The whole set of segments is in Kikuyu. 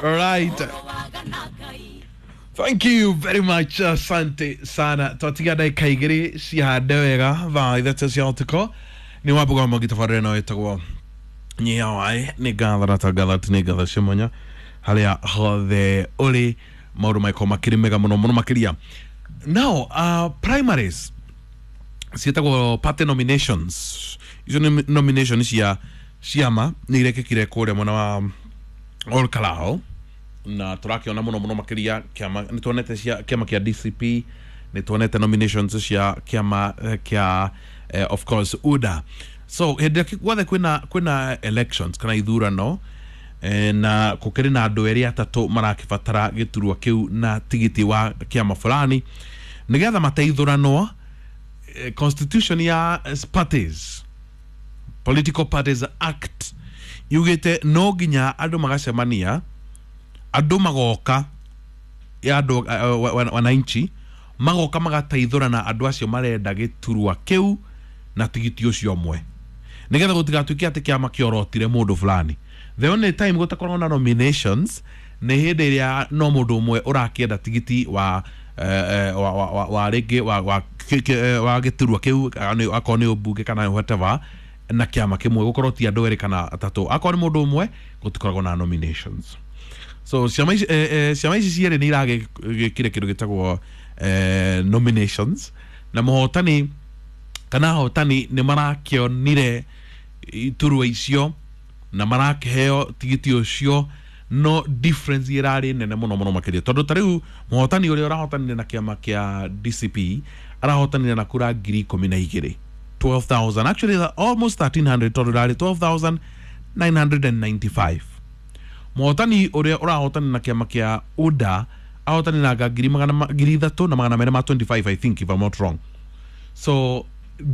Right. Thank you very much, asante sana. Twatiga ndagĩka 2 cihande wega thaa 3 cia ũtukũ. Nĩ wambuga magitabarĩre no ĩtagwo nyia waĩ nĩ ngatho na tangatha atĩ nĩ ngatho cia mwanya harĩa hothe ũrĩ maũndũ maĩkorwo makĩrĩ mega mũno mũno makĩria. Now, primaries ciĩtagwo party nominations. Icio nĩ nomination cia ciama nĩ irekĩkire kũrĩa mwena wa Ol Kalou, na tũrakĩona mũno mũno makĩria kĩama nĩ tuonete cia kĩama kĩa DCP, nĩ tuonete nominations cia kĩama kĩa of course UDA. So hĩndĩ ĩrĩa guothe kwĩna elections kana ithurano, na gũkĩrĩ na andũ erĩ atatũ marakĩbatara gĩturwa kĩu na tigiti wa kĩama fulani nĩgetha mateithũranwo, constitution ya parties, Political Parties Act, yugĩte no nginya andũ magacemania, andũ magoka ya andũ wananchi magoka magateithũrana andũ acio marenda gĩturwa kĩu na tigiti ũcio ũmwe, nĩgetha gũtigatuĩke atĩ kĩama kĩorotire mũndũ fulani. The only time gũtakoragwo na nominations nĩ hĩndĩ ĩrĩa no mũndũ ũmwe ũrakĩenda tigiti wa wa wa wa wa rĩngĩ wa gĩturwa kĩu, akorwo nĩ ũmbunge kana whatever, na kĩama kĩmwe gũkorwo ti andũ erĩ kana atatũ. Akorwo nĩ mũndũ ũmwe, gũtikoragwo na nominations. So ciama ici ciama ici cierĩ nĩ iragĩkire kĩndũ gĩtagwo nominations, na mũhotani kana ahotani nĩ marakĩonire iturwa icio na marakĩheo tigiti ũcio, no difference ĩrarĩ nene mũno mũno makĩria, tondũ ta rĩu mũhotani ũrĩa ũrahotanire na kĩama kĩa DCP arahotanire na kura 12,000, 12,000, actually almost 1300, tondũ ĩrarĩ 12,995. Mũhotani ũrĩa ũrahotani na kĩama kĩa UDA ahotani na 3,225, I think, if I'm not wrong. So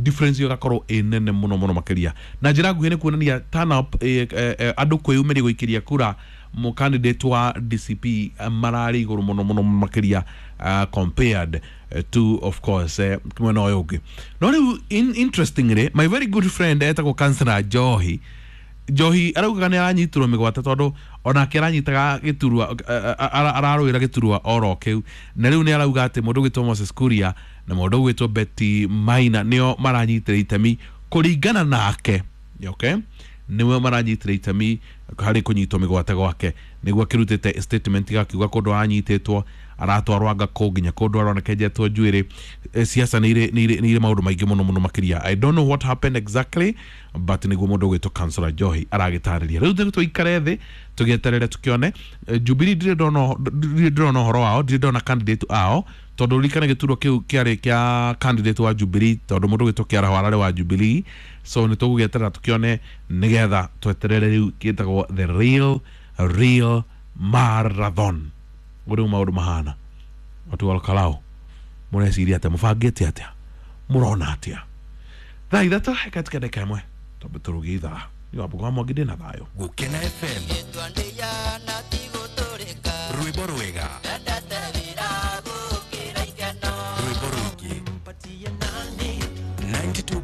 difference ĩyo ĩgakorwo ĩ nene mũno mũno makĩria. Na njĩra nguhĩ nĩ kuonania turn up, andũ kwĩyumĩria gũikĩria kura mu candidate wa DCP mararĩ igũrũ mũno mũno makĩria, compared to of course mwena ũyũ ũngĩ. No rĩu interestingly, my very good friend etagwo Councillor Njohi Njohi araugaga nĩ aranyitirwo mĩgwate, tondũ onake aranyitaga gĩturwa, ararũĩra gĩturwa oro kĩu, na rĩu nĩ arauga atĩ mũndũ ũgwĩtwo Moses Kuria na mũndũ ũgwĩtwo Betty Maina nĩo maranyitĩra itemi kũringana nake, okay, nĩwe maranyitĩra itemi harĩ kũnyitwo mĩgwate gwake. Nĩguo akĩrutĩte statement gakiuga kũndũ aranyitĩtwo aratwarwo anga kũ nginya kũndũ aronekenjetwo njuĩrĩ. Siasa nĩ irĩ maũndũ maingĩ mũno mũno makĩria. I don't know what happened exactly, but nĩguo mũndũ ũgwĩtwo Councillor Njohi aragĩtarĩria. Rĩu tũgĩ tũikare thĩ tũgĩeterere tũkĩone. Jubilee ndirĩ ndĩrona ũhoro wao, ndirĩ ndona candidate ao, tondũ ririkane gĩturwa kĩu kĩarĩ kĩa candidate wa Jubilee, tondũ mũndũ ũgwĩtwo Kĩaraho ararĩ wa Jubilee. So nĩ tũgũgĩeterera tũkĩone, nĩgetha tweterere rĩu gĩtagwo the real real marathon ũrĩu maũndũ mahana. Watu wa Olkalou, mũreciria atĩa? Mũbangĩte atĩa? Mũrona atĩa? Thaa 3 ĩkatika ndagĩka 1, twambe tũrũgie ithaa. Nĩ wambuga wa Mwangi, ndĩna thayũ. Gukena FM.